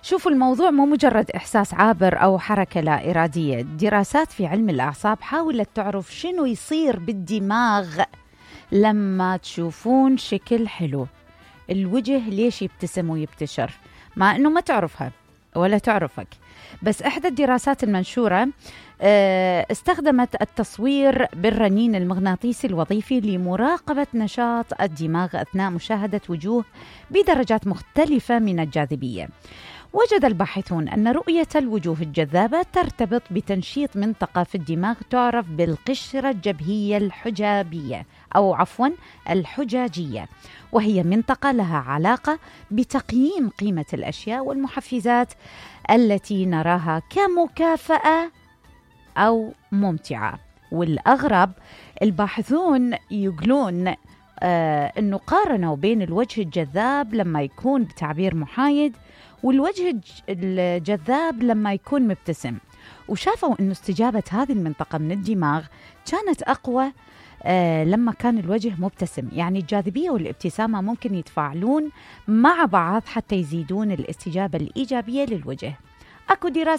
شوفوا، الموضوع مو مجرد إحساس عابر أو حركة لا إرادية. دراسات في علم الأعصاب حاولت تعرف شنو يصير بالدماغ لما تشوفون شكل حلو. الوجه ليش يبتسم ويبتشر مع أنه ما تعرفها ولا تعرفك؟ بس إحدى الدراسات المنشورة استخدمت التصوير بالرنين المغناطيسي الوظيفي لمراقبة نشاط الدماغ أثناء مشاهدة وجوه بدرجات مختلفة من الجاذبية. وجد الباحثون أن رؤية الوجوه الجذابة ترتبط بتنشيط منطقة في الدماغ تعرف بالقشرة الجبهية الحجابية الحجاجية، وهي منطقة لها علاقة بتقييم قيمة الأشياء والمحفزات التي نراها كمكافأة أو ممتعة. والأغرب، الباحثون يقولون أنه قارنوا بين الوجه الجذاب لما يكون بتعبير محايد والوجه الجذاب لما يكون مبتسم، وشافوا أنه استجابة هذه المنطقة من الدماغ كانت أقوى لما كان الوجه مبتسم. يعني الجاذبية والابتسامة ممكن يتفاعلون مع بعض حتى يزيدون الاستجابة الإيجابية للوجه. أكو دراسة